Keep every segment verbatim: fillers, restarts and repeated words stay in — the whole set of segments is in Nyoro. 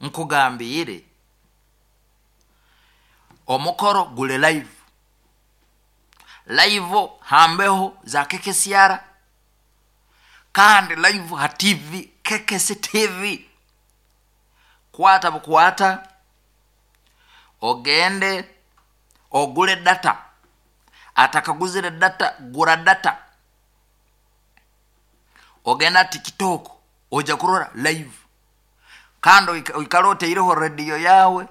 Nkugambire omukoro gule live live hambeho za K K C R, kandi live ha T V K K C T V. Kwata bukwata ogende ogule data. Atakaguzire data, gura data, ogenda TikTok, ojja kurora live. Kandi oikale oteireho rediyo yawe,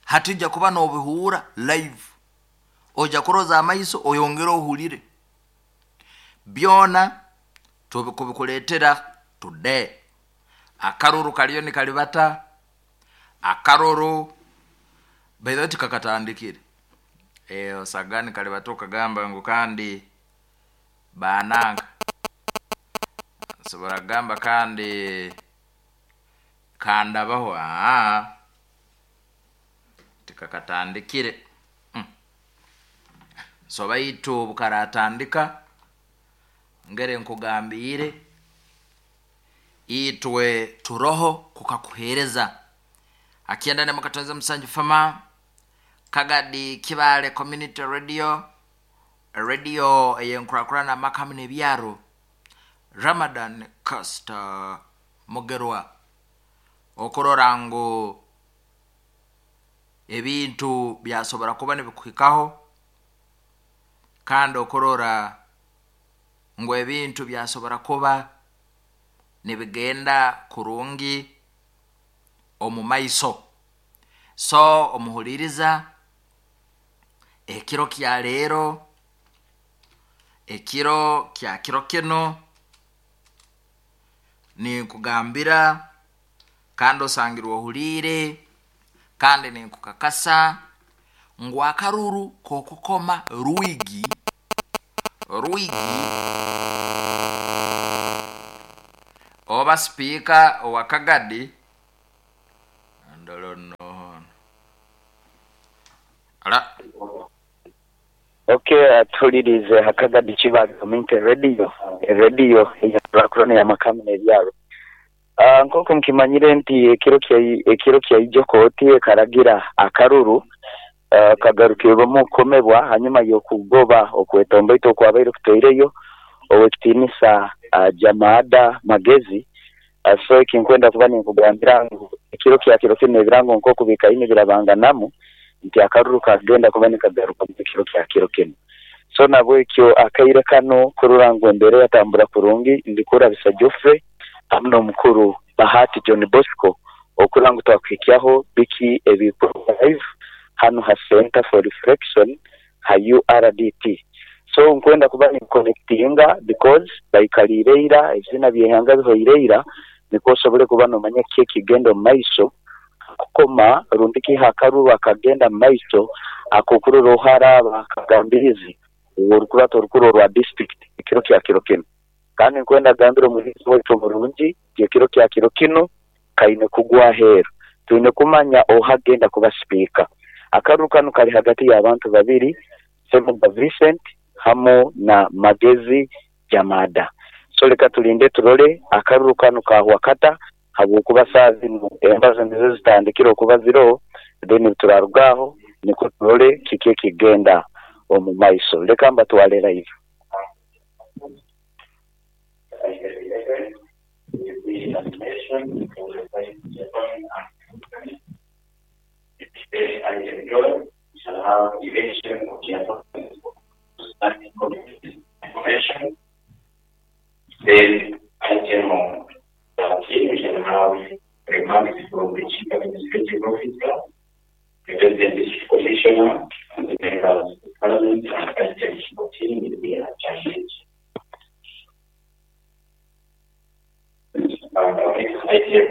hatijja kuba nobihuura live, ojja kuroza amaiso oyongere ohulire. Byona tubikuletera today. Akaruru kaliyo nikalibata. Akaruru baithe tikakatandikire e, osagani kalibata okagamba ngu kandi bananga nsobora kugamba kandi kandabaho. Aa, tikakatandikire mm. So baitu bukaratandika ngere nkugambire, itwe turoho kukakuhereza. Akienda ne mukatonza musanju fama Kagadi Kibale Community Radio, radio eyenkurakurana amakamu n'ebyaro. Ramadan Caster Mugerwa, okurora ngu ebintu byasobora kuba nibikuhikaho, kandi okurora ngu ebintu byasobora kuba nibigenda kurungi omu maiso. So omuhuliriza, ekiro kya leero, ekiro kya kiro kino, ninkugambira kandi osangirwe ohuliire, kandi ninkukakasa ngu akaruru kokukoma rwigi rwigi oba sipiika owa Kagadi. Ndolo nno ala. Okay, atulirize Hakagadi Kibale Community Radio, radio eyakurakurana y'amakamu n'ebyaro. Uh, nk'oku mukimanyire nti ekiro kya ekiro kyaijo kooti ekaragira akaruru uh, kagarukirwemu kukomebwa hanyuma y'okugoba okwetomboita okwabaire kuteireyo owekitiinisa uh, Jamada Magezi. uh, so ekinkwenda kuba ninkugambira ngu ekiro kya kiro kino ebirango nk'oku bikaine birabanganamu nti akaruru kagenda kuba nikagaruka mu kiro kya kiro kino. So nabwekyo akaire kano kurora ngu embera yatambura kurungi, ndikurabisa Geoffrey hamwe n'omukuru Bahati John Bosco okurora ngu twakuhikyaho biki ebikorwa live hano ha Center for Reflection ha U R D T. So nkwenda kuba ninconnectinga because baikaliire ira ebizina byehanga bihoire ira, nikwo osobole kuba nomanya ki ekigenda omu maiso kukoma rundi kiha akaruru akagenda mu maiso akokurora oharaba akagambirizi orukurata orukuru orwa district ekiro kya kiro kino. Kandi nkwenda gambira omuhinzi waitu omurungi nti ekiro kya kiro kino kaine kugwa aheeru, twine kumanya ohagenda kuba sipiika. Akaruru kano kali hagati y'abantu babiri, Semuga Vincent hamu na Magezi Jamada. So leka tulinde turole akaruru kano kahwa kata, habwokuba saa zinu embazo nizo zitandikire okuba ziro. Then turarugaho nikwo turole kiki ekigenda omu maiso. Leka mbatwale live. Item eleven will be nomination for the vice chairman and then item twelve, we shall have election of the appointment of standing committee information. Then item thirteen, we shall have remarks from the chief administrative officer, the resident district commissioner, and the members of parliament, and item fourteen will be adjourned. Uh, next item